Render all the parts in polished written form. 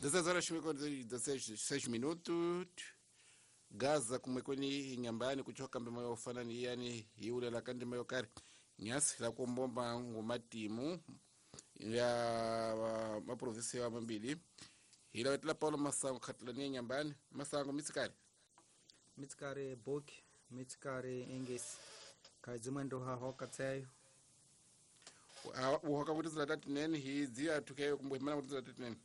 16 horas 56 minutos. Gaza kumwekweni inyambani kuchoka mbema yofana ni yani hiulela kandi mayo kari nyasi la kumbomba ngumatimu ya maprovinsi ya mambili hila wetela Paulo Masango khatlani nyambani Masango mitsikari mitsikari boki mitsikari engesi kadzimwendo ha hoka tseyo uhoka kuti zilatatinen hidzi athukeyo kumbuhimana kuti zilatatinen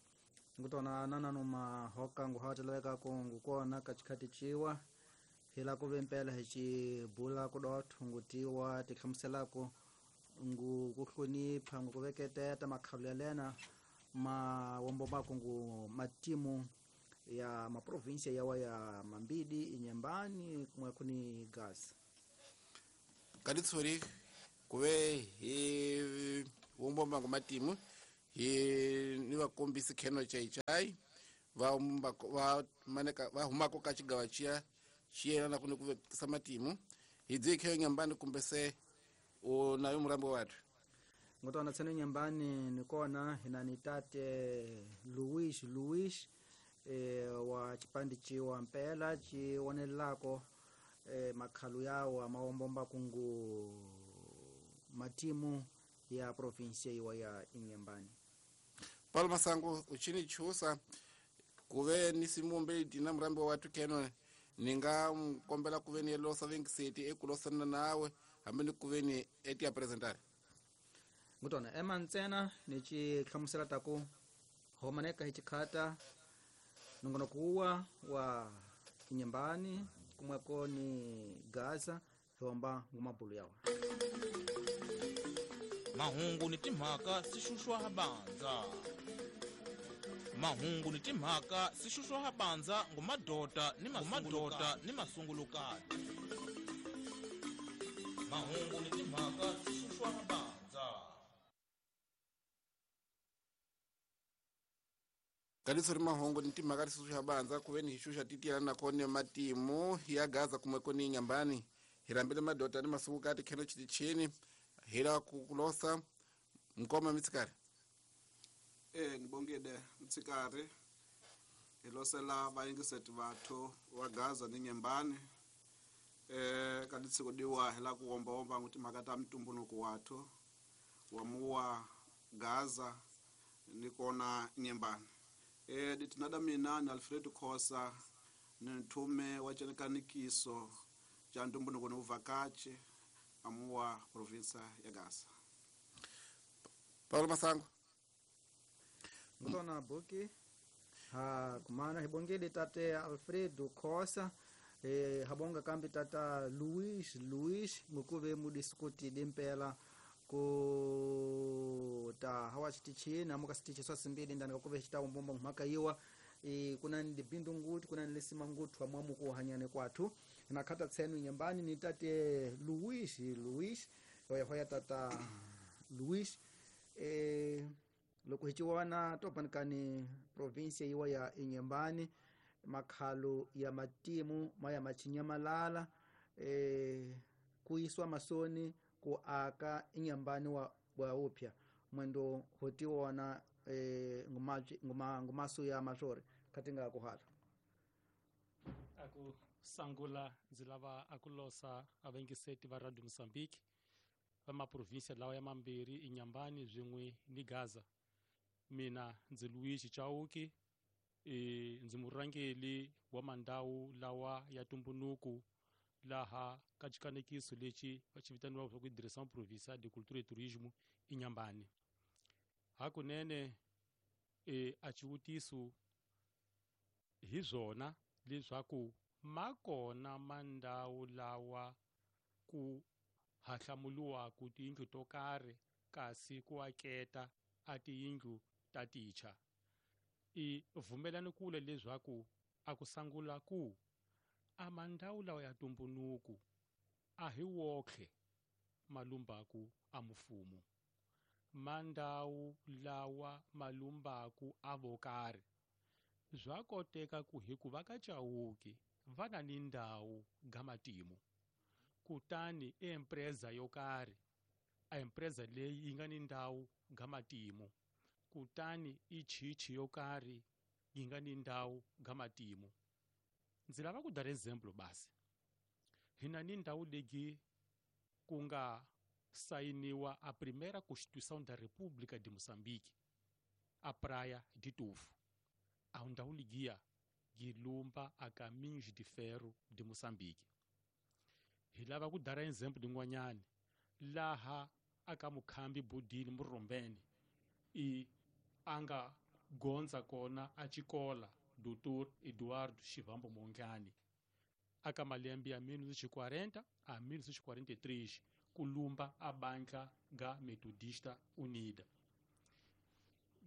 ngutona nanano mahoka nguhateleka ko ngukona kachikhati chiwa hila kuve mpela hichibula kudotho ngutiwa tihlamuselako ngu kuhlonipha ngukuveketeta makhalu ya lena mawombomako ngu matimu ya maprovinsia yawa ya Mambidi Inyambani kumwe kuni Gaza katitsuri kuve hi wombomba ngu matimu hi ni vakombisi kheno chaichai va va maneka va humako ka xigawa xiya xiyelana kuni ku vekisa matimu hi dzi kheyo nyambani kumbe se u nayo murambo wathu ngotona tsene nyambani nikona hina ni tate Luis Luis wa chipandi chiwa mpela chiwonelako makhalu yawo amawombomba kungu matimu ya provinsia iwa ya Inyambani. Paulo Masango uchini chusa kuve ni simumbe dina murambo watu keno ninga mkombela kuve ni losa vengiseti ekulosana nawe hambe ni kuve ni eti ya presentare ngutona ema ntsena nichi hlamusela taku homaneka hichikhata nongonokuwa wa Inyambani kumweko ni Gaza hiwamba ngumabulu yawa mahungu ni timhaka sixuxwa habanza mahungu ni timhaka sixuxwa habanza ngumadota ni mamadota ni masungulukati mahungu ni timhaka sixuxwa habanza kalisori mahungu ni timhaka sixuxwa habanza kuve ni hixuxa titiyana nakone matimu ya Gaza kumweko ni Inyambani hirambile madota ni masungulukati kheno chitichini hila kukulosa mkoma mitsikari nibongile mtsikari hilosela vayingiseti vathu wa Gaza ni Nyembani kaditsikudiwa hila kuwomba-womba ngu timhaka ta mtumbunuku wathu wa muwa Gaza nikona Nyembani ditinada mina ni Alfred Khosa ni nthume wa cenekanikiso ca ntumbunuku ni uvakachi amuwa provinsa ya Gaza. Paulo Masango ngutona buki ha kumana hibongele tate Alfredo Khosa habonga kambi tata Luis Luis ngukuve mudiskuti dimpela ku ta hawa chitichini amuka sitichi swasimbili ndani kakuve chitawo mbomba mhaka iwa kuna ndi bindu nguti kuna lisima ngutu amwamu kuhanyane kwathu nakhata tsenu Inyambani ni tate Luis Luis hoya tata Luis loko hichiwana topanikani provinsia iwa ya Inyambani makhalu ya matimu maya machinyamalala kuiswa masoni ku aka Inyambani wa upya mwendo hotiwana ngumasu ya masori katinga kuhala aku sangula ndzi lava akulosa avengiseti va Radio Mozambique va maprovinsia lawa ya mambirhi Inyambani swin'we ni Gaza. Mina ndzi Luigi Chauki ndzi murhangeri wa mandawu lawa ya tumbunuku laha ka xikanekiso lexi va xi vitaniwaka ku Direção Provincial de Cultura e Turismo Inyambani. Hakunene a xivutiso hi swona leswaku makona mandawu lawa ku hahlamuliwaku tiyindlu to karhi kasi ku aketa a tiyindlu ta ticha i vumelani kule leswaku a ku sangula ku a mandawu lawa ya tumbunuku a hi wokhe malumbaku a mufumo mandawu lawa malumbaku a vokarhi swa koteka ku hikuva ka Chauki va na ni ndhawu ga matimu kutani empresa yo karhi a empresa leyi yi nga ni ndhawu ga matimu kutani i chichi yo karhi yi nga ni ndhawu ga matimu. Ndzi lava ku dar exemplo basi. Hina ni ndhawu leyi ku nga sainiwa a primeira Constituição da República de Moçambique, a Praia de Tofo. A ndhawu ligiya yi lumba a Caminhos de Ferro de Moçambique. Hi lava ku dara example lin'wanyani laha aka mukhambi Budini Murombeni i anga gondza kona a xikola Dr. Eduardo Chivambo Mondlane aka malembe ya 1940 a 1943 kulumba a bandla ga Metodista Unida.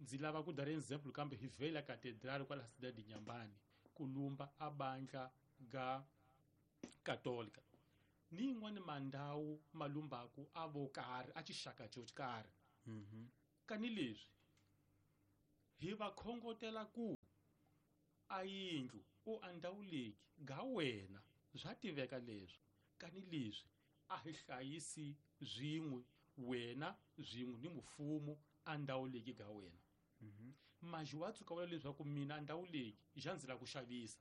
Ndzi lava ku dara example kambe hi vela catedral kwala cidade de Inhambane kulumba a bandla ga Católica. Ni yin'wani mandhawu malumbaku a vo karhi a xixaka xo karhi. Kani leswi hi va khongotela ku a yindlu u a ndhawu leyi ga wena swa tiveka leswi kani leswi a hi hlayisi swin'we wena swin'we ni mfumo a ndhawu leyi ga wena. Maji wa tshuka vula leswaku mina a ndhawu leyi xa ndzi lava ku xavisa.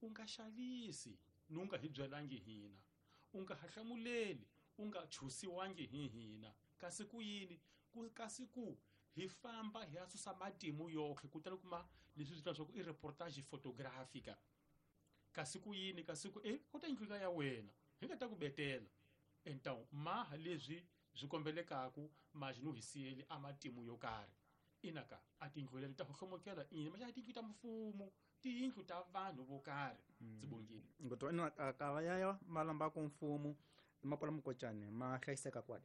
U nga xavisi ni u nga hi byelangi hina, u nga hahlamuleli, u nga chusiwangi hi hina. Kasi ku yini? Kasi ku hi famba hi ya susa matimu yoxe kutani kuma leswi swi leswaku i reportage photographica. Kasi ku yini? Kasi ku ku ta yindlu ya wena hi nga ta ku betela. Então maha leswi swi kombelekaku maji no hi siyeli a matimu yo karhi. Inaka a tindlu leti ta hlomokela ini ma xa tindlu ta mfumo, tiyindlu ta vanhu vo karhi. Ndzi bongile. Ngotwa ina akava yayo malamba ku mfumo mapola mukocane ma hlayiseka kwale.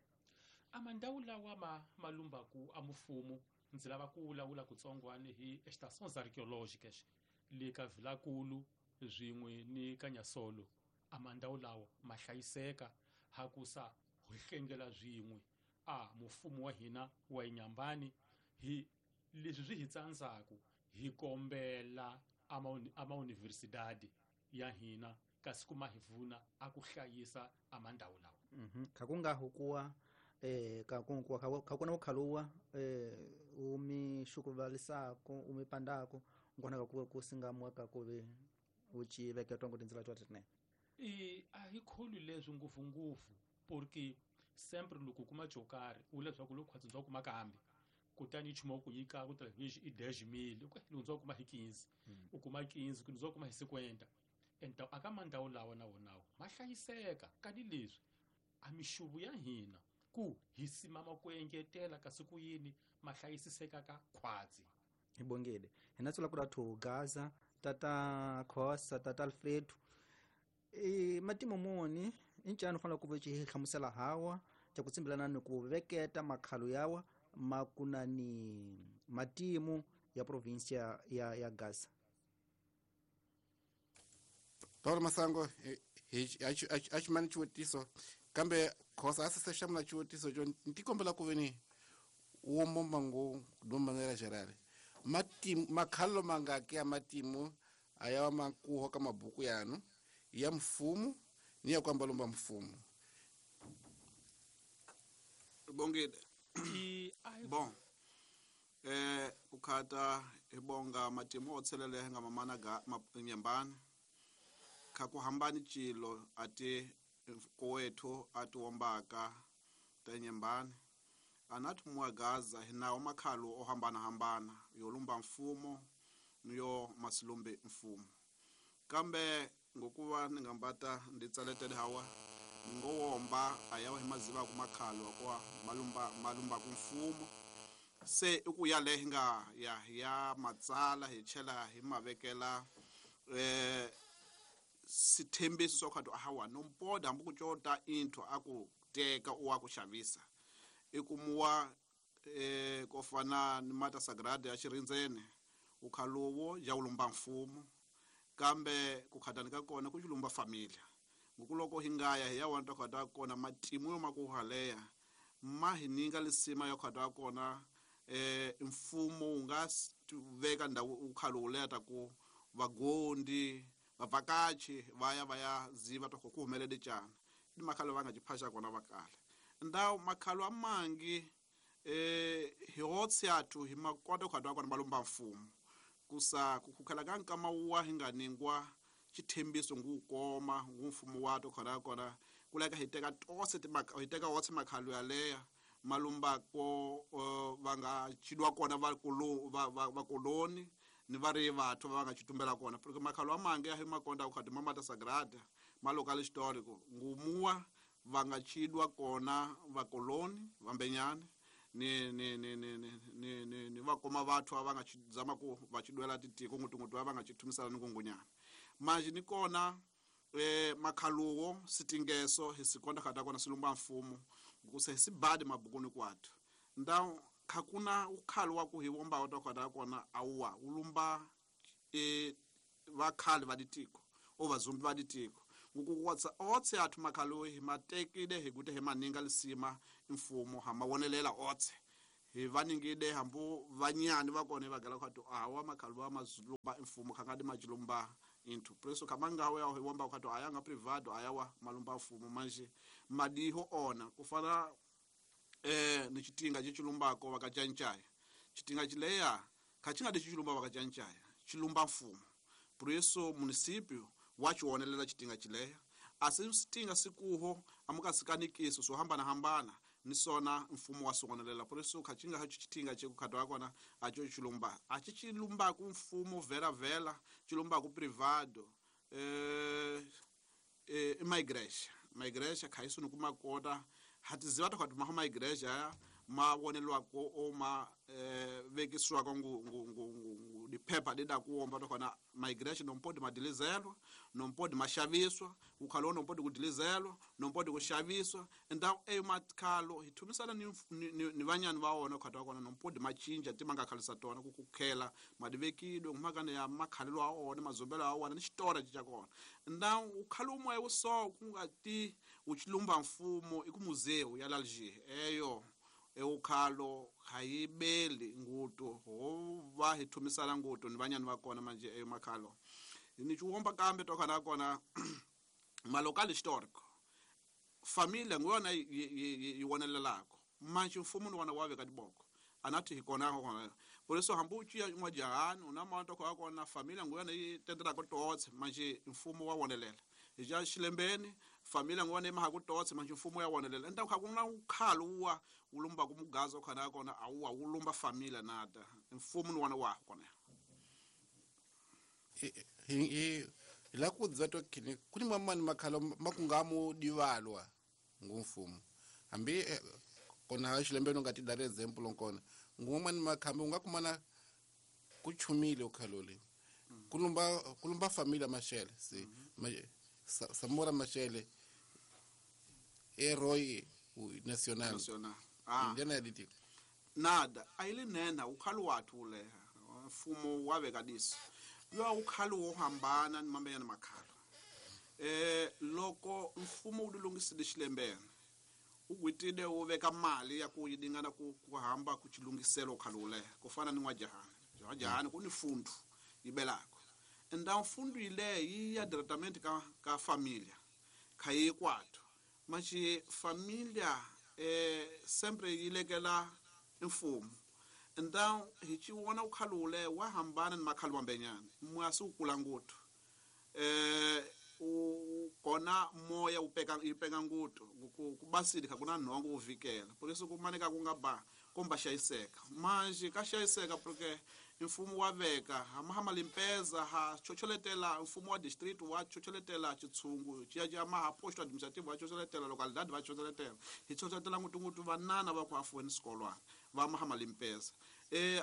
A mandhawu lawa ma malumbaku a mfumo ndzi lava ku vulavula kutsongwana hi estações arqueológicas le ka Vilakulu swin'we ni ka Nyasolo. A mandhawu lawa ma hlayiseka hakusa hi hlengela swin'we a mfumo wa hina wa Inhambane hi leswi swi hi tsandzaku hi kombela ama universidade ya hina kasi kuma hi pfuna a ku hlayisa a mandhawu lawa. Khakunga hukuwa kakunkuwa kakuna ukhaluwa umi shukuvalisako umi pandako ngona kakuwe kusingamwa kakuve uchi veketwa ngo tindzila twa tine. A hi kholi leswi ngopfu ngopfu porque sempre loko kuma xo karhi u leswaku loko khwatsi bya kuma kambe kutani nchumu ku nyika ku television i 10,000 loko ndzi kuma hi 15 u kuma 15 ku ndzi kuma hi 50. Então aka mandhawu lawa na wonawo ma hlayiseka kani leswi a mixuvu ya hina ku hi simama ku engetela kasi ku yini ma hlayisiseka ka khwatsi. Hi bongile hina tsula ku rathu Gaza tata Khosa tata Alfredo matimu moni incano fanele ku hi hlamusela hawa xa ku tsimbilana ni ku veketa makhalo yawa makunani matimu ya provincia ya Gaza. Paulo Masango hi ximani xivutiso kambe Khosa a se hlamula xivutiso xo ndzi kombela ku veni wo momba ngo do manera geral matimu makhalo mangaki ya matimu aya makuho ka mabuku yanu ya mfumo ni ya kwamba lomba mfumo. Bongile. Bon. Ukhata ibonga matimu otselele nga mamana ga Inhambane. Khakuhambani chilo ati kowethu ati wombaka ta Inhambane. Anathi muwa Gaza hinawo makhalo ohambana hambana yolumba mfumo niyo masilumbe mfumo. Kambe ngokuva ningambata nditsaletele hawa ngowomba ayawa himaziva kumakhalo kwa malumba kumfumo se ukuya le nga ya matsala hi chela hi mavekela sithembiso swa khato hawa nompoda hambi ku cota intho aku teka u wa ku xavisa ikumuwa kofana ni mata sagrada ya xirindzene ukhalowo ya ulumba mfumo kambe ku khatani ka kona ku xilumba familia ngokuloko hi ngaya hi ya wanta khata kona matimu yo makuhaleya ma hi ninga lisima ya khata kona mfumo wu nga veka ndhawu ukhalo leta ku vagondi vavhakachi vaya ziva ta ku humelele cana ni makhalo va nga jiphasha kona vakala ndawu makhalo amangi hi hotsi yathu hi makota khata kona malumba mfumo Kusa kukhukhala ka nkama wa hi nga ningwa xithembiso ngukoma ngumfumo wa to khona kona kuleka hi teka tose hi teka wotse makhalo yaleya malumbako va nga chidwa kona va va koloni ni va ri vathu va nga chitumbela kona porque makhalo amange ya hi makonda ku khati mamata sagrada malocal histórico ngumuwa va nga chidwa kona va koloni vambenyane ni ni ni ni ni ni ni va koma vathu va nga chizama ku va chidwela titiko ngutungutu va nga chithumisana ni kungunyana manje ni kona makhaluwo sitingeso hi sikonda khata kona silumba mfumo kuse sibadi mabukuni kwathu ndaw khakuna ukhalo wa ku hi womba wa khata kona awwa ulumba vakhali va ditiko o vazumbi va ditiko ngukuwatsa otse athu makhalo hi matekile hi kute hi maninga lisima mfumo ha mawonelela otse hi vaningide hambu vanyani va kona va gala khatu awa makhalo wa mazulumba mfumo khangadi majulumba into preso kamanga wa hi womba khatu ayanga privado ayawa malumba mfumo manje madiho ona kufana ni chitinga chichilumbako vakachanchaya chitinga chileya khachinga dichilumba vakachanchaya chilumba mfumo preso municipio wachionelela chitinga chileya asitinga sikuho amukasikanikisi so hambana hambana ni sona mfumo wa sonelela preso khachinga hacho chitinga chekukhatwa kona acho chilumba achichilumba ku mfumo vera vela chilumba ku privado migration khaiso ni kumakota hatiziva ta khatu ma igreja ma wonelwa ko o ma vekiswa ko ngu ngu ngu diphepha dida kuomba to khona migration nompodi madilizelwa nompodi mashaviswa ukhalo nompodi kudilizelwa nompodi kushaviswa ndaw e makhalo hithumisana ni vanyani va wona khata kona nompodi machinja timanga khalisa tona kukukhela madivekidwe ngumakana ya makhalelo a wona mazumbelo a wona ni xitora cha kona ndaw ukhalo umwe uso kungati uchilumba mfumo ikumuzeu ya Alger eyo eukhalo hayibeli nguto ho va hi thumisana nguto ni vanyani va kona manje eyo makhalo ni chiwomba kambe to khana kona malocal histórico familia ngona yi wonelelako manje mfumo ni wona wa veka diboko anathi hi kona kona por isso hambuchi ya n'wajahani una mato kwa kona familia ngona yi tendela ko totse manje mfumo wa wonelela ja xilembeni familia ngone ma ku totse manje mfumo ya wonelela nda kha kuna ukhalo wa ulumba kumugazo khana kona awuwa ulumba familia nada mfumo ni wona wa kona hi la ku dzato kini kuni mamani makhalo makungamu divalwa ngumfumo hambi kona xilembeni nga ti dare example nkona ngumani makhambi unga kumana kuchumile ukhalole kulumba familia mashele si Samora Machele herói nacional ndena diti nada ayilinena ukhalo wathu leha mfumo waveka diso yo ukhalo wo hambana ni mambenyana makhalo loko mfumo wu lulungisile xilembeni ugwitile wu veka mali ya ku yidingana ku hamba ku chilungiselo ukhalo leha ku fana ni n'wajahani n'wajahani ku ni fundu yibelako nda mfundu ile yi ya directamente ka familia khayi kwathu machi familia sempre yilekela mfumo nda hi chiwona ukhalule wa hambana ni makhalo mambenyana mwasi ukula nguthu kona moya upeka ipeka nguthu kubasili khakuna nhongo uvikela por isso kumaneka kungaba komba xayiseka manje ka xayiseka porque mfumo wa veka hama limpeza ha chocholetela mfumo wa district wa chocholetela chitsungu chiya maha posto administrative wa chocholetela localidade va chocholetela hi chocholetela ngutungutu vanana va ku afuweni swikolwana va mahama limpeza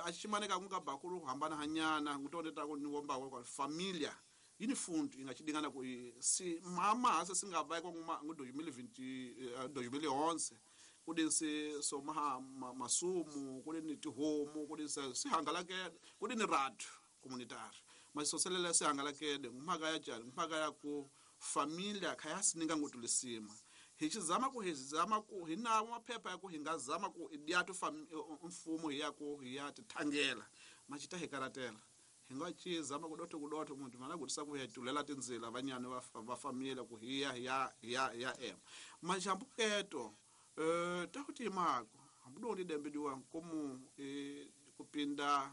a ximaneka ku nga bakulu hambana hanyana ngutondeta ku ni womba kwa familia yini fundu ingachidingana ku si mama hase singava kwa nguma ngu 2020 2011 kudinsi so maha masumu kudini tihomu kudinsi sihangalakele kudini ratu communitary masisoselela sihangalakele ngumhaka ya tjani ngumhaka ya ku familia khayasininga ngutulisima hi xizama ku hi zama ku hi nawo maphepha ya ku hi nga zama ku idyatu mfumo hi ya ku hi ya tithangela machita hi karatela hi nga chizama ku dotho muntu mana ku tisa ku hi tulela tindzila vanyani va familia ku hi ya ya ya ya em majambuketo takuti mako hambudo ndi dembe diwa komu kupinda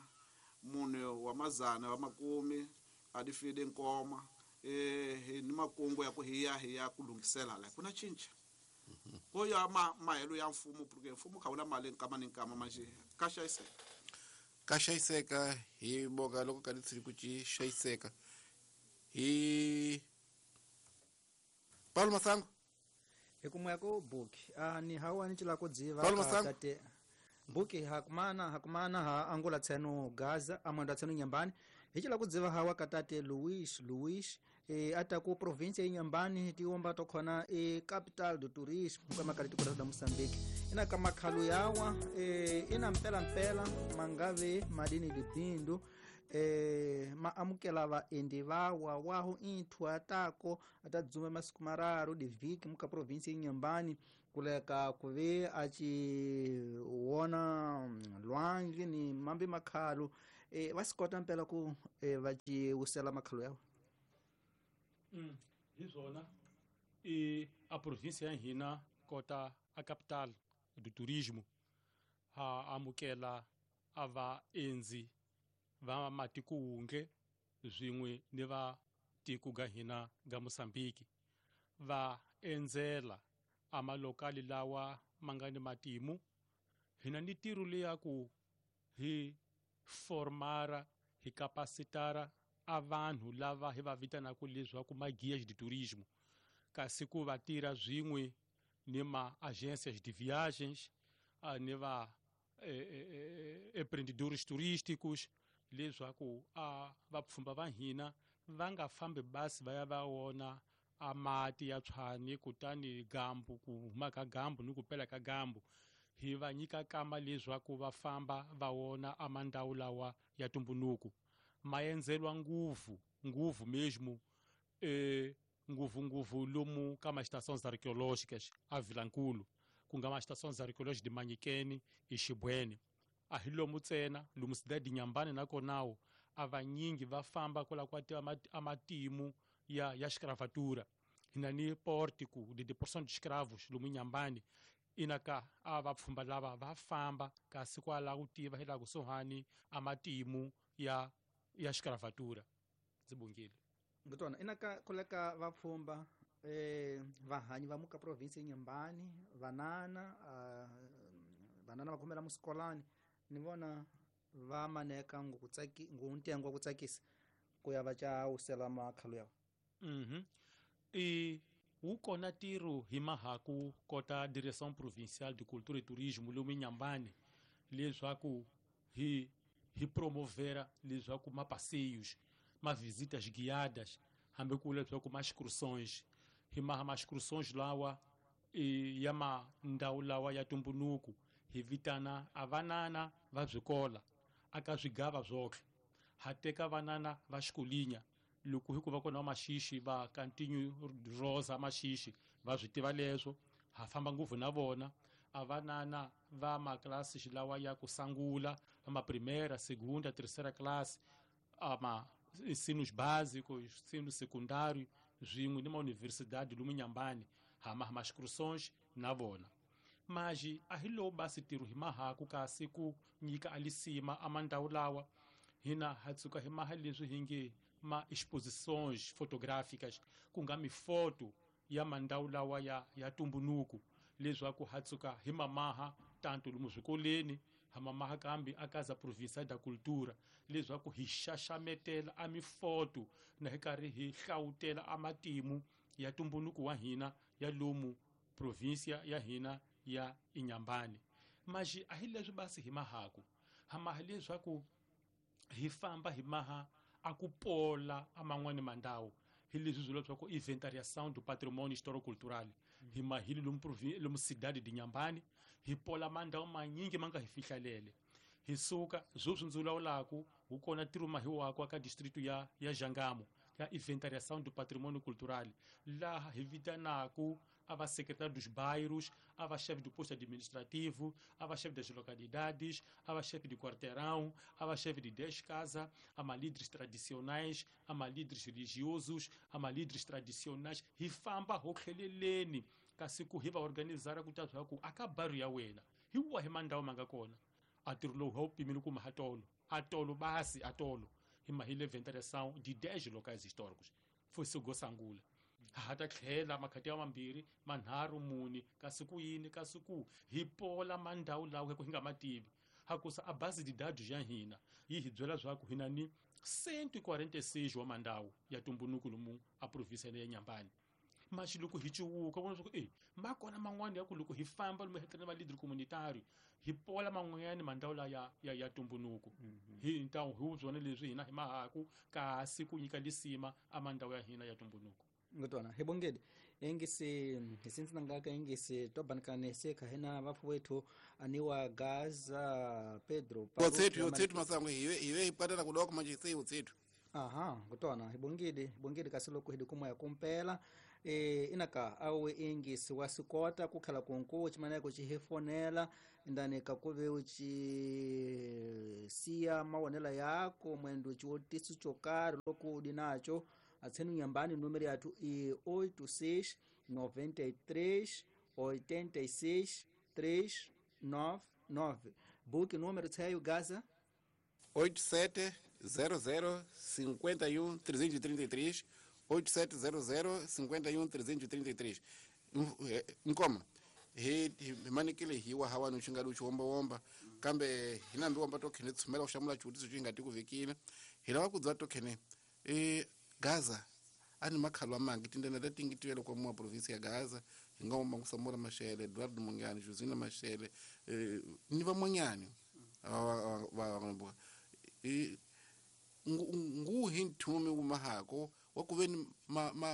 munhu Wa mazana wa makumi a di fide nkoma hi ni makungu ya ku hi ya ku lunghisela la ku na cinca ko ya mahelo ya mfumo porque mfumo kha wuna mali nkama ni nkama manje ka xayiseka hi boka loko ka litsiri ku ci xayiseka hi Paulo Masango hi kumwe ko buki ni hawa ni cila ku dziva tate buki hakumana ha angula tseno Gaza amanda tseno Nyambani hi cila ku dziva hawa katate Luis ata ku province ya Nyambani tiomba to khona e capital do tourisme kama kali tikota da Mozambique ina kama khalu yawa ina mpela mangave madini dibindu ma amukela vaendi vawa waho inthu atako atadzume masiku mararu divhiki muka province ya Nyambani kuleka kuve achiwona lwandle ni mambi makhalu vasikota mpela ku vachiwusela makhalu yawo. Hi swona a province ya hina kota a capital do turismo ha amukela a vaendzi va matiko wunge swin'we ni va tiko ga hina ga Mozambique va endzela a malokali lawa ma nga ni matimu. Hina ni tiro leya ku hi formara hi capacitara a vanhu lava hi va vitanaka leswaku ma guias de turismo kasi ku va tirha swin'we ni ma agências de viagens ni va empreendedores turísticos leswaku a vapfhumba va hina va nga fambi basi va ya va wona a mati ya tshwani kutani gambu ku huma ka gambu ni ku pela ka gambu hi va nyika kama leswaku va famba va wona a mandawu lawa ya tumbunuku ma endzelwa nguvu mesmo nguvu lomu ka ma estações arqueológicas a Vilankulu ku nga ma estações arqueológicas de Manyikeni e Xibweni a hi lomu ntsena lomu cidade de Nyambani nakonawo a vanyingi va famba kwala kwa a matimu ya escravatura hina ni pórtico de deportação de escravos lomu Nyambani inaka a vapfhumba lava va famba kasi kwala ku tiva hi laha kusuhani a matimu ya escravatura. Ndzi bongile ngutona inaka kuleka vapfhumba vahanyi va muka province ya Nyambani vanana va khomela musikolani ni vona va maneka ngu wa ku tsakisa ku ya va ca wusela makhalu yawo. Wu kona tiro hi mahaku kota Direção Provincial de Cultura e Turismo lomu Nyambani leswaku hi promovera leswaku ma passeios ma visitas guiadas hambi ku leswaku ma excursões hi maha ma excursões lawa ya mandhawu lawa ya tumbunuku hi vitana a vanana va swikola aka swigava swotlhe ha teka vanana va xikolinya loko hi ku va kona va maxixi va continue rosa maxixi va swi tiva leswo ha famba ngopfu na vona a vanana va maklasi lawa ya ku sangula va ma primeira segunda terceira classe ama ensinos básicos ensino secundário swin'we ni ma universidade lomu Nyambani ha maha excursões na vona. Mas a hi lowu basi tiro hi mahaku kasi ku nyika alisima a mandawu lawa hina ha tsuka hi maha leswi hi nge ma exposições fotográficas ku nga mifoto ya mandawu lawa ya tumbunuku leswaku ha tsuka hi mamaha tanto lomu swikoleni ha mamaha kambe a Casa Provincial da Cultura leswaku hi xaxametela a mifoto na hi karhi hi hlawutela a matimu ya tumbunuku wa hina ya lomu província ya hina ya Inhambane. Mas a hi leswi basi hi mahaku ha maha leswaku hi famba hi maha a ku pola a man'wani mandawu hi leswi swi leswaku inventariação do patrimônio histórico-cultural hi mahili lomu cidade de Inhambane hi pola mandawu manyingi ma nga hi fihlalele hi suka sweswi ndzi vulavulaku wu kona ntirho mahiwako aka distrito ya Jangamo ya inventariação do patrimônio cultural laha hi vitanaku a va secretário dos bairros, a va chefe do posto administrativo, a va chefe das localidades, a va chefe de quarteirão, a va chefe de 10 casas, a ma líderes tradicionais, a ma líderes religiosos, a ma líderes tradicionais, hi famba ho tlheleleni kasi ku hi va organizara ku ta swa ku aka bairro ya wena hi wahi mandawu ma nga kona a ntirho lowu ha wu pimile ku mahatolo Atolo basi atolo hi mahile inventariação de 10 locais históricos. Foi Sugosangula. Hata tlhela makhati ya mambirhi manharhu mune kasi ku yini kasi ku hi pola mandhawu lawa ku hi nga mativi hakusa a base de dados ya hina yi hi byela swa ku hina ni 146 wa mandhawu ya tumbunuku lomu a província ya Nyambani. Mas loko hi cuwuka vona swa ku ma kona man'wani ya ku loko hi famba lomu hi va leader communitario hi pola man'wanyani mandhawu la ya tumbunuku. Hi ntawu hi byona leswi hina hi mahaku kasi ku nyika lisima a mandhawu ya hina ya tumbunuku. Ngotwana hebongedi engisi hisinzi nangaka engisi tobanikane seka hena vafu wetu aniwa Gaza Pedro otsethu masango hiwe ipatana kudoko manje sei otsethu. Aha, ngotwana hebongedi kasi loko hidi kumoya kumpela inaka awe engisi wasikota kukhala kunku chimaneko chihefonela ndani kakuve uchi siya mawonela yako mwendo chiwotisu chokari loko udi nacho. Atsenu Nyambani número yathu i 86 93 86 399. Book número tseyo Gaza 8700 51 333 8700 51 333. Nkoma he manikile hiwa hawa nuchinga luchi womba womba kambe hinambi womba tokhene tsumela kushamula chutiso chingati kuvikile hilawa kudzwa tokhene Gaza ani makhalo amangi tindana tatingitiwele kwa mwa província ya Gaza ingoma kusamora Mashele Eduardo Mungani Josina Mashele ni vamwanyani va nguhi nthumi umahako wakuveni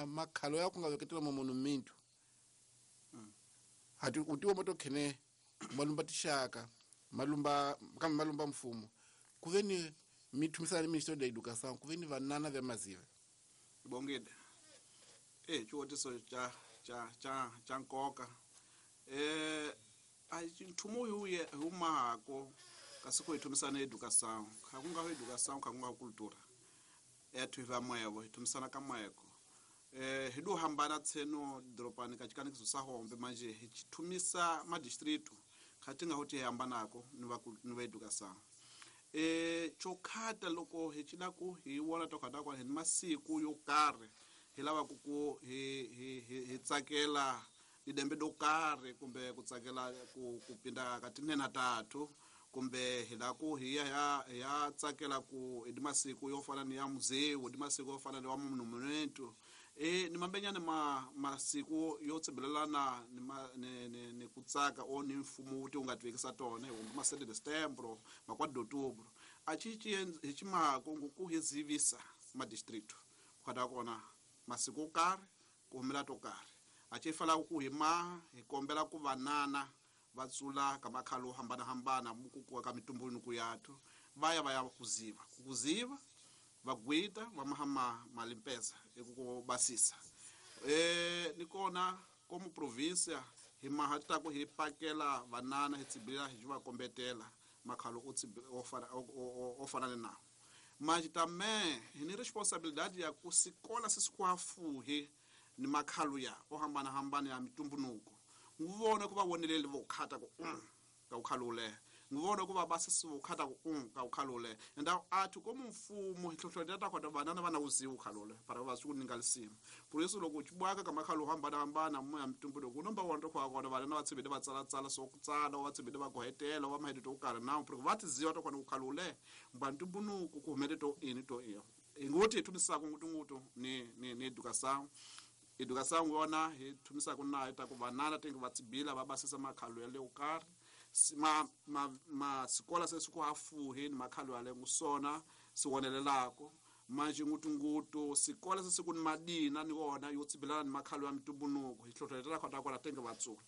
makhalo yako ngaveketela monumento hati utiwa motokhene malumba tishaka malumba kama malumba mfumo kuveni mithumisana Ministério da Educação kuveni vanana vya maziva. Bongede chiwotiso cha nkoka a nthumo uye humako kasi ku hithumisana educação kha ku nga educação kha ku nga cultura ethu hi vamwevo hithumisana ka mweko hi du hambana tseno doropani ka chikanikiso sa hombe manje hi chithumisa madistrito kha ti nga ho ti hambanako ni va educação chokhata loko hi cila ku hi wona tokhata kwa hi masiku yo karhi hi lava ku hi tsakela lidembe do karhi kumbe ku tsakela ku pinda ka tinene tatu kumbe hi la ku hi ya tsakela ku hi masiku yo fana ni ya muzeu hi masiku yo fana ni wa monumento ni mambenyana masiku yo tsibelelana ni ku tsaka o ni mfumo wu ti u nga tivekisa tona hi ma 7 de setembro ma 4 de outubro a chi hi chimako ku hi zivisa ma distrito ku kona masiku yo karhi ku humela to karhi a chi fala ku hi ma hi kombela ku vanana va tsula ka makhalo hambana hambana muku ka mitumbunuku yathu va ya kuziva vagwita va mahama malimpeza eku basisa ni kona como província hi mahata ku hi pakela vanana hi tsibila hi va kombetela makhalo o fana na manje também hi ni responsabilidade ya ku sikola se sikwafuhi ni makhalo ya o hambana hambana ya mitumbunuku nguvona ku va vonelele vo khata ku ka ukhalule ngivona kuva basisi ukhata ku ka ukhalule and athu como mfumo hi hlohlotela ta khota vanana vana uziwa ukhalule para va swi ku ninga lisima por isso loko chibwaka ka makhalo hambana hambana mu ya mitumbunuku number 1 to kwa kona vanana va tsibile va tsala tsala so ku tsala va tsibile va gohetela va mahedito ku karhi na por va tiziwa to kona ukhalule mba ntumbunuku ku humele to ini to iyo ingoti thumisaka ngutungutu ni educação educação yona hi thumisaka na ta ku vanana tingi va tsibila va basisa makhalo ya le ukarhi ma sikola se siku hafuhi ni makhalo ya le ngusona siwonelelako manje ngutungutu sikola se siku ni madina ni wona yo tsibilana ni makhalo ya mitumbunuku hi hlohletela khota kona tenge va tsula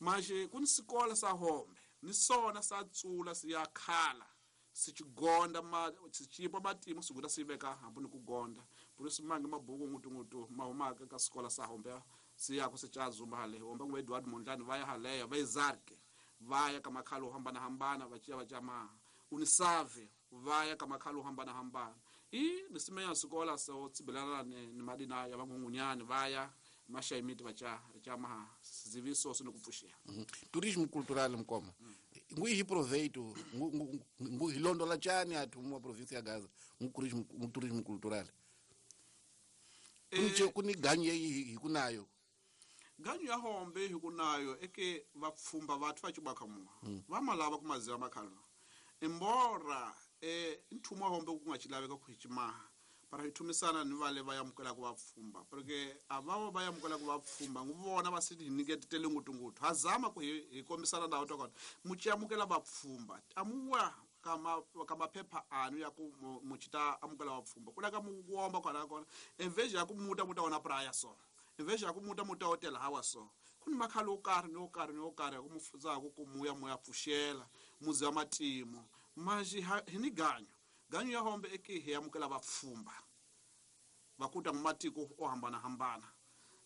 manje ku ni sikola sa hombe ni sona sa tsula siya khala sichigonda ma sichipa matimu sikuta siveka hambi ni ku gonda por isso mange mabuku ngutungutu mahumaka ka sikola sa hombe siya ku sichazumba hale hombe ngwe Edward Mondlane va ya haleya va izarke vaya ka makhalo hambana hambana va ciya va jama unisave vaya ka makhalo hambana hambana i nisimenya sikola so tsibelana ni madina ya vangungunyani vaya mashaimiti va cha jama ziviso sino kupfuxia Turismo cultural mkoma. Ngu hi proveito ngu hi londola chani athu mu província ya Gaza mu turismo cultural. Kunche kuni ganyo hi kunayo. Ganyo ya hombe hi kunayo eke vapfumba vathu va chibaka muwa. Va malava kumaziva makhalo. Embora nthumo wa hombe ku nga chilaveka ku hichimaha. Para hi thumisana ni vale va yamukela ku vapfumba. Porque avavo va yamukela ku vapfumba nguvona va sithi hi nyiketele ngutungutu. Hazama ku hi kombisana ndhawu ta kona. Muchi amukela vapfumba. Amuwa ka maphepha anu ya ku muchita amukela vapfumba. Ku laka mu womba kwala kona. Enveja ya ku muta muta wona praya so. Enveja ya ku muta muta hotel hawa so. Kuni makhalo o karhi ni o karhi ni o karhi ku mufudza ku muya muya pfuxela muzi wa matimo. Maji hi ni ganyo. Ganyo ya hombe eke hi amukela vapfumba. Vakuta matiko o hambana hambana.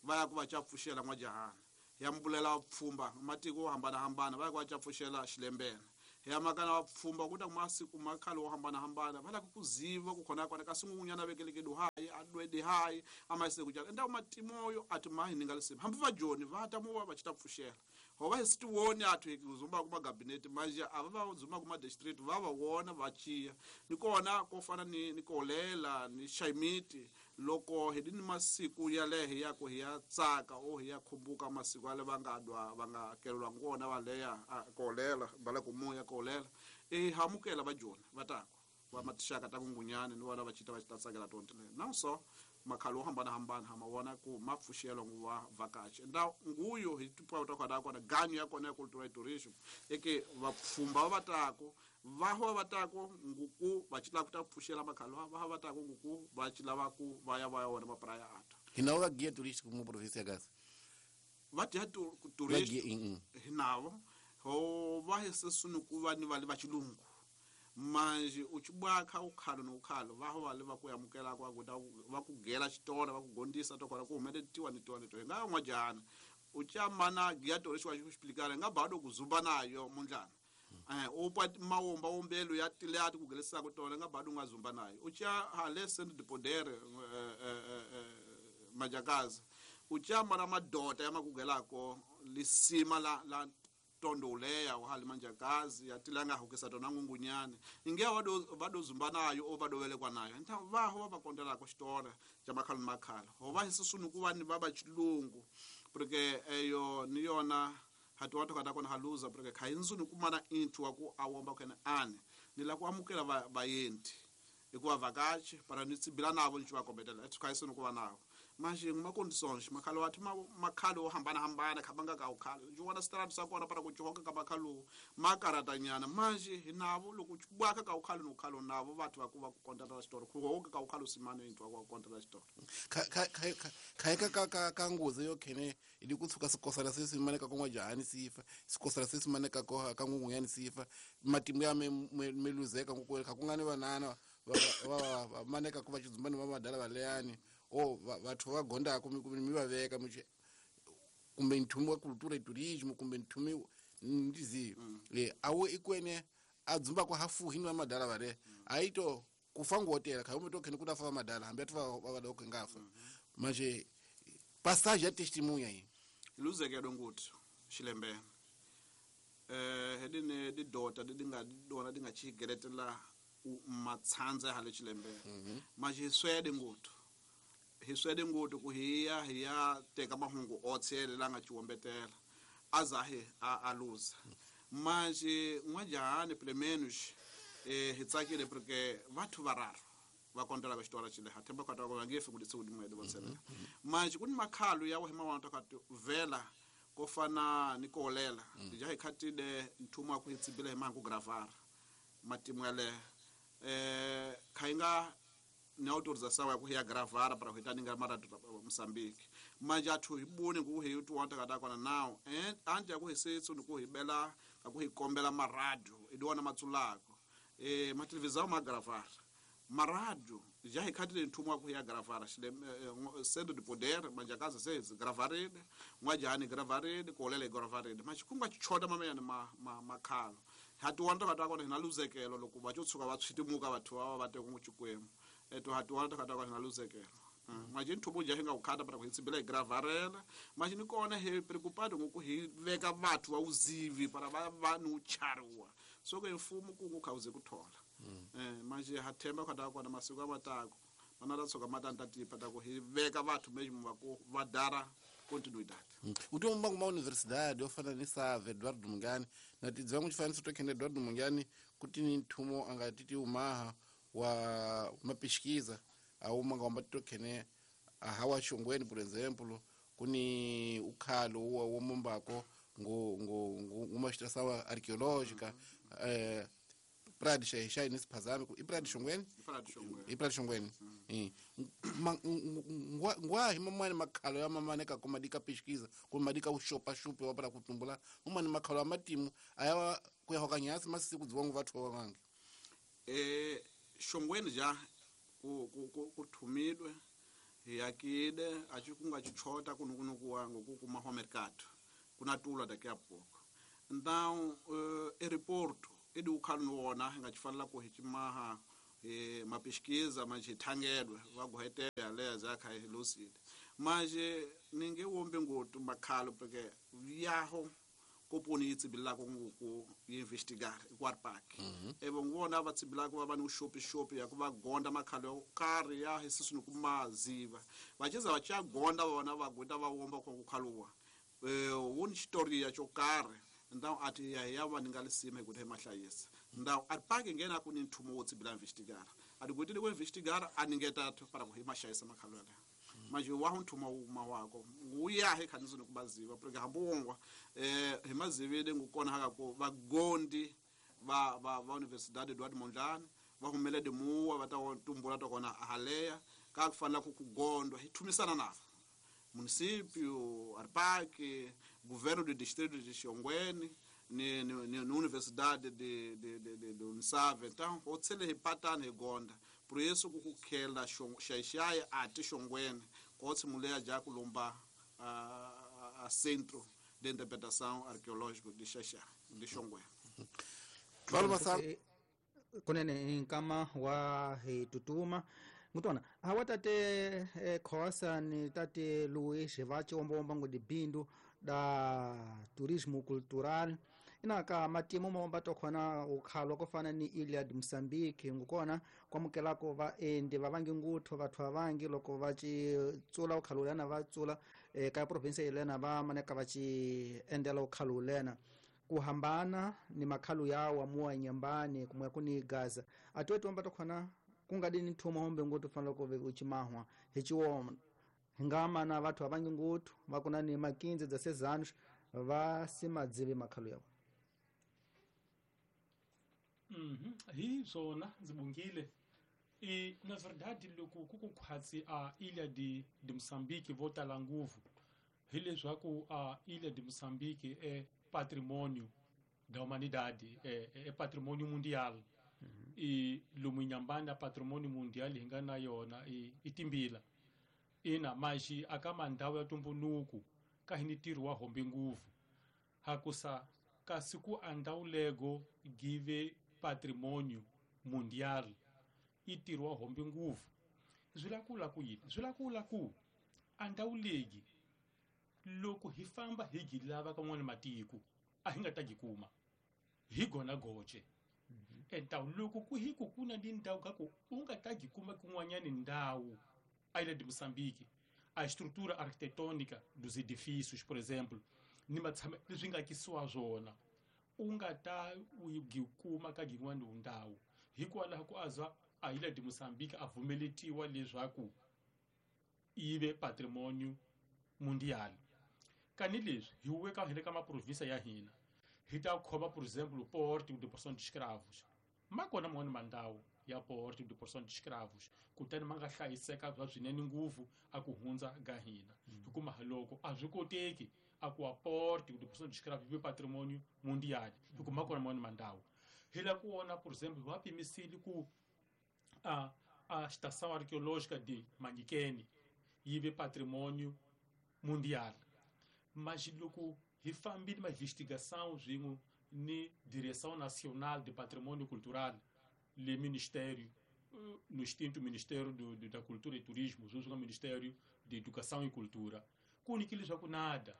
Va ya ku va chapfuxela n'wajahana. Ya mbulela vapfumba matiko o hambana hambana va ya ku va chapfuxela xilembene. Ya makana vapfumba kuta masiku makhalo o hambana hambana va la ku ziva ku khona kona kasi n'wunyana vekeleke duhayi adwede hayi amayise ku jala. Ndawu matimoyo ati mahi ninga lisima. Hambi va joni va ta muwa va chita pfuxela. Ho va hi sitiwoni athu hi zumba kuma gabinete manje ava va zumba kuma district va va wona va chiya. Ni kona ko fana ni kolela ni shaimiti loko hi ni masiku ya lehe ya ku hi ya tsaka o hi ya khumbuka masiku ya le va nga dwa va nga kelelwa ngona va leya kolela va le ku moya kolela e hamukela va joni va tako va matixaka ta kungunyani ni vona va chita va chita tsakela tonto le na so makhalo hambana hambana ha mavona ku mapfuxelo nguva vakachi nda nguyo hi tipa ta kona kona ganyo ya kona ya cultural tourism eke vapfumba va tako va ho va tako nguku va chila ku ta pfuxela makhalo va va tako nguku va chila va ku va ya va ya wona mapraya ata hina va guia turístico mu província Gaza va dia turista hinavo ho va hesesunu ku va ni va le va chilungu manje uchibwaka ukhalo nokhalo va ho va le va ku yamukela kwa ku va ku gela xitora va ku gondisa to kona ku humeletiwa ni tiwa ni to nga n'wajana uchamana guia turístico wa xiplikana nga bado ku zumba nayo mundlana upa mawomba wombelo ya tilati ku gelisa ku tona nga bado nga zumba nayo ucha hale send de poder majakazi uchamana madota ya makugelako lisima la tondoleya wa hali manjakazi ya tilanga hukisa tona ngungunyane inge wado zumba nayo o badowelekwa nayo nta vaho va kondela ko xitora xa makhalo makhalo ho va hisisunu ku va ni va va chilungu porque eyo ni yona hatu watu kata kona haluza porque khayinzuni kumana intu wa ku awomba kena ane ni la ku amukela vayenti hikuva vakachi para ni tsibila navo ni va kombetela ethu khayisuni ku va navo manje nguma conditions makhalo wathi makhalo hambana hambana khabanga ka ukhalo nje wona strap sa kona para ku johonka ka makhalo makaratanyana manje hinavo loko bwaka ka ukhalo nokhalo navo vathu va ku va ku kontela xitori ku honka ka ukhalo simane into wa ku kontela xitori kha ka ka ngozi yo khene idi ku tshuka sikosala se simane ka kongwa jahani sifa sikosala se simane ka ko ka ngungunyani sifa matimu ya meluzeka ngukwe ka kungani vanana va maneka ku va chizumbani va madala valeyani o vathu va gonda ku mi va veka kumbe nthumo wa cultura e turismo kumbe nthumo ndizi le awo ikwene adzumba kwa hafu hinu wa madala vale aito kufangu hotela ka umto kene kuda fa madala hambe atu va va ngafa manje passage ya testemunha yi luzeke donguthi xilembe hedine di dota di nga dona di nga chigeretela matsanza hale xilembe manje swede nguthu hi swede nguthu ku hiya hiya teka mahungu otshele la nga chiwombetela azahe a luza manje n'wajahani pelo menos hi tsakile porque vathu vararo va kontela ka xitora xile ha themba kwata va nge fi ku ditsi ku dimwe votsela manje ku ni makhalo ya wena wa ta vela ko fana ni kolela ja hi khatile nthumo wa ku hitsibile hi mangu gravara matimu ya le khainga ni autorização ya ku ya gravara para ku ninga mara Mozambique manje athu hi boni ku hi tuwanta kata kona now and anje ku hisetsu ni ku hi bela ka ku hi kombela maradio idiwana matsulako ma televisão ma gravara maradio já hi khatile nthumo wa ku ya gravara xile centro de poder manje kaza sezi gravarede n'wajani gravarede kolele gravarede manje kunga chichota mameyana ma makhalo hatuwanta kata kona hina luzekelo loko va tshuka va tshitimuka vathu va va te ku chikwembu eto hatuwanta kata kona hina luzekelo Manje nthumo ja hi nga ku khata para ku hi tsibela hi gravarela manje ni kona hi preocupado ngoku hi veka vathu va uzivi para va ni uchariwa so ke mfumo ku ngu khawuze ku thola manje ha themba khata kona masiku amatako mana ra tsoka matanta tipa ta ku hi veka vathu mesmo va ku va dara continuidade. Utomba kuma universidade ofana ni Save Eduardo Mungani na tidzangu chifaniso to khene Eduardo Mungani kuti ni nthumo anga titi umaha wa mapesquisa auma ngomba to khene hawa Xongweni por exemplo kuni ukhalo wa womumbako ngo ngo uma extração arqueológica Praia de Xaixai nesse phazami i Praia de Xongweni i Praia de Xongweni ngwa hi mamani makhalo ya mamane ka kuma dika pesquisa kuma dika ushopa shupe wa para kutumbula mamani makhalo ya matimu aya ku ya hokanyasi masiku dzongo vathu wa vangi Xongweni ja ku thumidwe yakide achi kunga chichota kunukunuku wangu kukuma ho mercado kuna tula daqui a pouco. Então aeroporto edi ukhalo wona ngachifanela ku hichimaha ma pesquisa manje thangedwe vaguhetela leza kha lucid manje ninge wombe ngotu makhalo porque yaho koponi tsibilako ngoku investigar eKwar Park evo ngibona abatsibilako baba no shop ya kuva gonda makhalo kari ya hisisunu kumaziva vachiza vachagonda vona vaguta va womba ko kukhaluwa woni story ya chokare então ati ya ya va ningalisima ikuti mahlayisa ndaw aripake ngena kuni nthumo wo tsibila investigar ati kuti ku investigar aningetatu para ku himashayisa makhalo ya manje wa nthumo uma wako uyahe khanizo nokubaziva porque hambongwa himazivile ngukona haka ko vagondi va Universidade Eduardo Mondlane va humele de muwa va ta tumbula to kona haleya ka kufanela ku kugondwa hi thumisana navo município, Arpac, governo do distrito de Xongweni, ni universidade de Unisave. Então, otsele hipatana higonda. Por isso kukukhela Xaixai ati Xongweni, kotsi mulher já kulomba a centro de interpretação arqueológico de Xaixai, de Xongweni. Kunene nkama wa hitutuma mutona hawa tate Khosa ni tate Luis vachi omba ngo dibindu da turismo cultural inaka matimu momba tokhona ukhalwa kofana ni Ilha de Moçambique ngukona kwamukelako va endi va vangi nguthu vathu avangi loko va ci tsula ukhalulena va tsula ka province yelena va maneka va ci endela ukhalulena kuhambana ni makhalu yawo amuwa nyambani kumwe kuni Gaza atwetu omba tokhona kungadini nthumo hombe nguthu fanele ku uchimahwa hichiwoma ngama na vathu avangi nguthu vakuna ni makinzi dza sezanos va simadzivi makhalu yawo. Hi swona ndzi bungile i na verdade loko ku kukhwatsi a Ilha de Moçambique vo tala ngopfu hileswaku a Ilha de Moçambique é patrimônio da humanidade, é patrimônio mundial. E lomu Nyambani patrimônio mundial hi nga na yona i timbila ina maxi aka mandhawu ya tumbunuku ka hi ni ntirho wa hombe ngopfu hakusa kasi ku andawulego give patrimônio mundial i ntirho wa hombe ngopfu swi la ku la ku yini swi la ku la ku andawulegi loko hi famba hi gi lava ka n'wana matiko a hi nga ta gi kuma hi gona goce. Então loko ku hi ku kuna ni ndhawu ka ku u nga ta gi kuma kun'wanyani ndhawu a Ilha de Moçambique a estrutura arquitetônica dos edifícios, por exemplo, ni matshama leswi nga akisiwa swona u nga ta u gi kuma ka yin'wana ndhawu hikwalaho ku azwa a Ilha de Moçambique a vumeletiwa leswaku yi ve patrimônio mundial. Kani leswi hi weka hi le ka maprovinsia ya hina hi ta khoma por exemplo porto de porção de escravos ma kona man'wana mandhawu ya porto de porção de escravos kutani ma nga hlayiseka bya swinene ngopfu a ku hundza ga hina hikuma loko a swi koteki a ku a porto de porção de escravos vi patrimônio mundial hikuma kona man'wana mandhawu hi la ku vona por exemplo va pimisile ku a estação arqueológica de Manyikeni yi ve patrimônio mundial mas loko hi fambile ma investigação swin'we ni Direção Nacional de Patrimônio Cultural le Ministério no extinto Ministério da Cultura e Turismo, junto com o Ministério de Educação e Cultura. Kunikile leswaku nada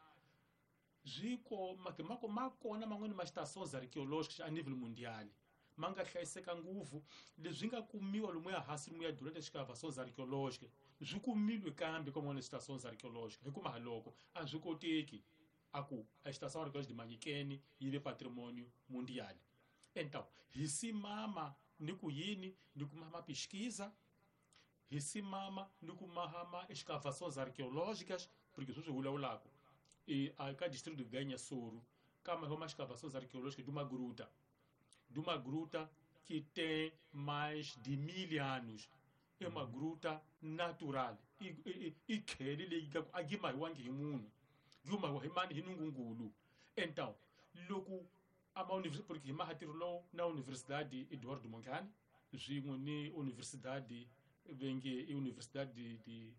zwiko mako makona man'wani ma estações arqueológicas a nível mundial ma nga hlayiseka ngopfu leswi nga kumiwa lomuya hansi lomuya durante as escavações arqueológicas swi kumilwe kambe ka man'wani estações arqueológicas hikuva loko a swi koteki a ku a estação arqueológica de Manyikeni yi ve patrimônio mundial. Então hi simama ni ku yini ni ku maha pesquisa hi simama ni ku maha escavações arqueológicas porque sweswi hi vulavulaka e ka distrito de Ganha-Soro kama uma escavações arqueológicas de uma gruta que tem mais de 1000 anos. É uma gruta natural. E khele leyi a yi mahiwangi hi munhu yi mahiwa hi mani hi nungungulu. Então loko ama porque hi maha ntirho lowu na Universidade Eduardo Mondlane swin'we ni Universidade venge i Universidade de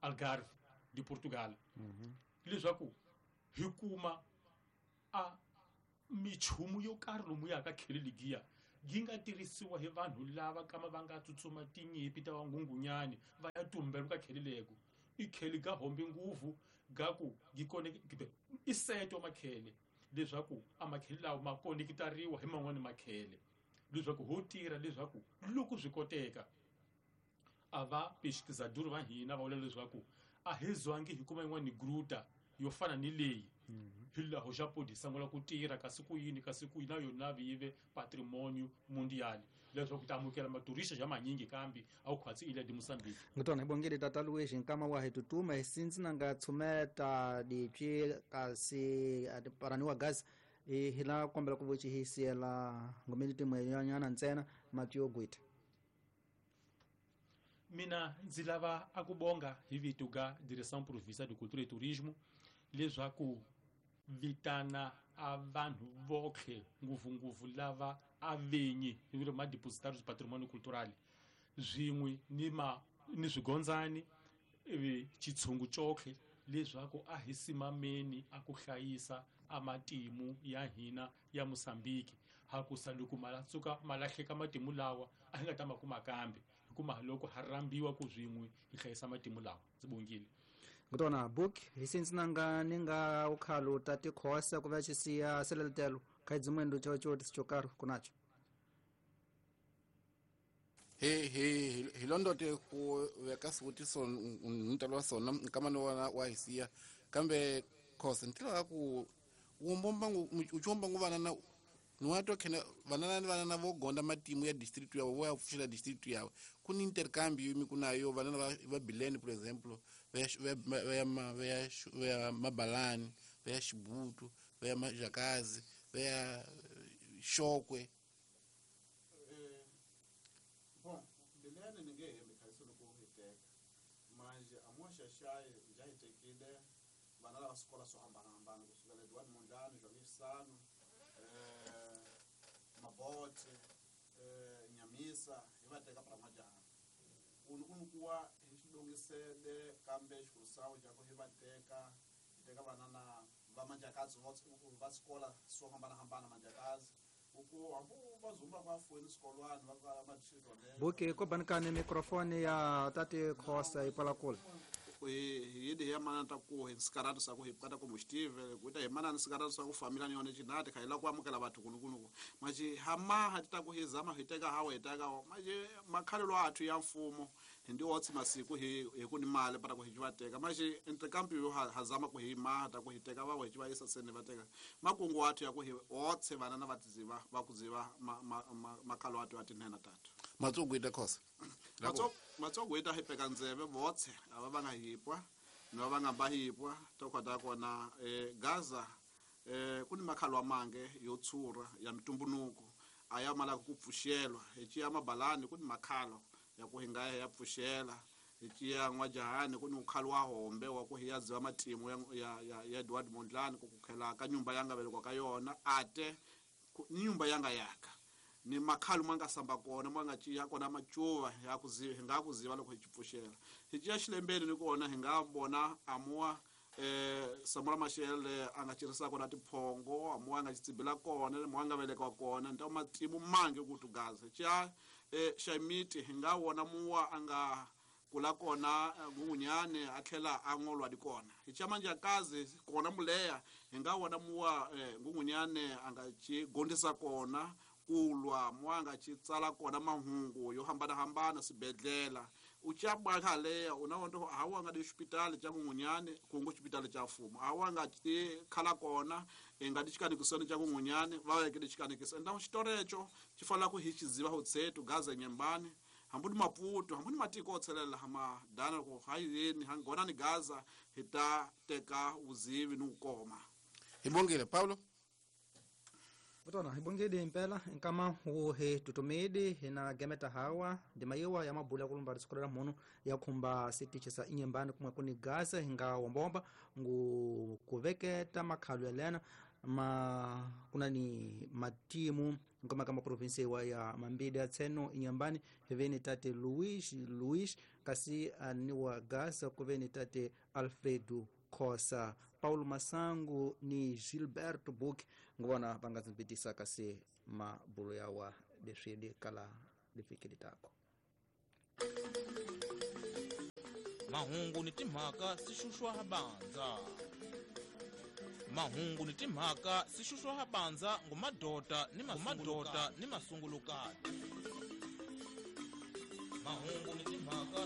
Algarve de Portugal. Leswaku hi kuma a michumu yo karhi lomu ya ka khele legiya yi nga tirhisiwa hi vanhu lava kama va nga tsutsuma tinyimpi ta vangungunyani va ya tumbela ka khele leko i khele ga hombe nguvu ga ku yi i seto makhele leswaku a makhele lawa ma konekitariwa hi man'wani makhele leswaku ho tirha leswaku loko swi koteka a va pesquisador va hina va vula leswaku a hi zwangi hi kuma yin'wani gruta yo fana ni leyi hi laho xa podi sungula ku tirha kasi ku yini kasi ku na yona yi ve patrimônio mundial leswaku ta amukela maturista ja manyingi kambe a wu khwatsi Ilha de Moçambique. Ngitona ibongile tata Luiz nkama wa hi tutuma hi sinzi na nga tshumeta dipyi kasi paraniwa gas hi la kombela ku voci hi siyela ngomeni timwe yanyana ntsena mati yo gwita. Mina ndzi lava a ku bonga hi vito ga Direção Provincial de Cultura e Turismo leswaku vitana a vanhu votlhe ngopfungopfu lava a venyi hi vito ma depositários de patrimônio cultural swin'we ni swigondzani ivi xitshungu cotlhe leswaku a hi simameni a ku hlayisa a matimu ya hina ya Moçambique hakusa loko ma ma lahleka matimu lawa a hi nga ta ma kuma kambe hikuva loko ha rambiwa ku swin'we hi hlayisa matimu lawa. Ndzi bongile. Ngitona book hi sinzi nanga ni nga ukhalo tati khosa ku va xisiya seleletelo kha dzimwendo cho cho kunacho. Hi londote ku veka swivutiso ntalo wa sona nkama ni wona wa hi siya kambe khosa ni tiva ku uchiomba ngu vanana niwato khena vanana ni vanana vo gonda matimu ya district yavo vo ya pfuxela district yavo ku ni intercambio mi ku nayo vanana va Bilene por exemplo va ya Mabalani va ya Xibutu va ya Majakazi va ya Xokwe. Bon, Bilene ni nge hembi khayiso loko hi teka manje amoxaxayi ja hi tekile vana lava swikolo swo hambanahambana kusukela Edward Mondlane João Sano Mabote Nyamisa hi va teka para majaha unu kuwa hi xilungisele kambe xikurusawu ja ku hi va teka hi teka vana na va manjakazi va swikola swo hambanahambana manjakazi uku hambi va zumba va fuweni swikolwani va kala madistrito. Buki ko banikani mikrofoni ya tati Khosa yi pala kule. Hi hi ya mana ta ku hi sikaratu sa ku hi kata ku mustive ku ta hi mana ni sikaratu sa ku famila ni yona chinati kha ila ku amukela bathu kunukunu maji hama ha ta ku hi zama hi teka hawe teka maji makhalelo athu ya mfumo hi ndi otsi masiku hi ku ni mali para ku hi va teka maji intercambio yo ha zama ku hi ma ta ku hi teka va hi va yisa sene va teka makungu athu ya ku hi otse vana na vatiziva va kuziva makhalo athu atinena tatu matsogo ita Khosa matsogo ita hi peka ndzeve votse ava va nga hipwa no va nga bahipwa to kota kona Gaza ku ni makhalo amange yo tshura ya mitumbunuko aya mala ku pfuxelwa hi ciya Mabalani ku ni makhalo ya ku hinga ya pfuxela hi ciya N'wajahani ku ni ukhalo wa hombe wa ku hi ya ziva matimu ya Edward Mondlane ku kukhela ka nyumba ya nga velekwa ka yona ate ni nyumba ya nga yaka ni makhalo manga samba kona manga ciya kona macuva ya kuziva hi nga kuziva loko hi pfuxela hi ciya xilembeni ni kona hi nga vona amuwa Samora Machel a nga cirisa kona tiphongo amuwa nga xitsibila kona muwa nga velekwa kona nta matimu mange ku tugaza ciya Xaimiti hi nga wona muwa a nga kula kona Ngungunyane a tlhela a ngolwa di kona hi Chamanjakazi kona Muleya hi nga wona muwa Ngungunyane a nga ci gondisa kona kulwa muwa a nga ci tsala kona mahungu yo hambanahambana swibedlela u ca khaleya una wonto hawa nga di xipitali xa Ngungunyane kungu xipitali xa mfumo hawa nga ti khala kona i nga di xikanikisoni xa Ngungunyane va veke di xikanikiso enda xitorecho xi fanela ku hi xiziva hotsetu Gaza Nyembani hambi ni Maputo hambi ni matiko o tshelela hama dana ku hayini hangona ni Gaza hi ta teka vuzivi ni ku koma. Hi bongile Paulo. Vutona hi bongile impela nkama wo he tutumedi hina gemeta hawa ndima yiwa ya mabula kulumba risiku ra mhunu ya khumba sitichi sa Inyembani kumwe kuni Gaza hinga wombomba ngu kuveketa makhalo yalena ma kuna ni matimu nkoma kama provinsi wa ya Mambidi ya tseno Inyambani hiveni tate Luis kasi ni wa Gaza kuveni tate Alfredo Khosa Paulo Masangu ni Gilberto Book nguvona vangazimpitisa kasi mabulo yawa leswi kala lifikili tako. Mahungu ni timhaka si xuxwa habanza. Mahungu ni timhaka si xuxwa habanza ngumadota ni masungulukati. Mahungu ni timhaka.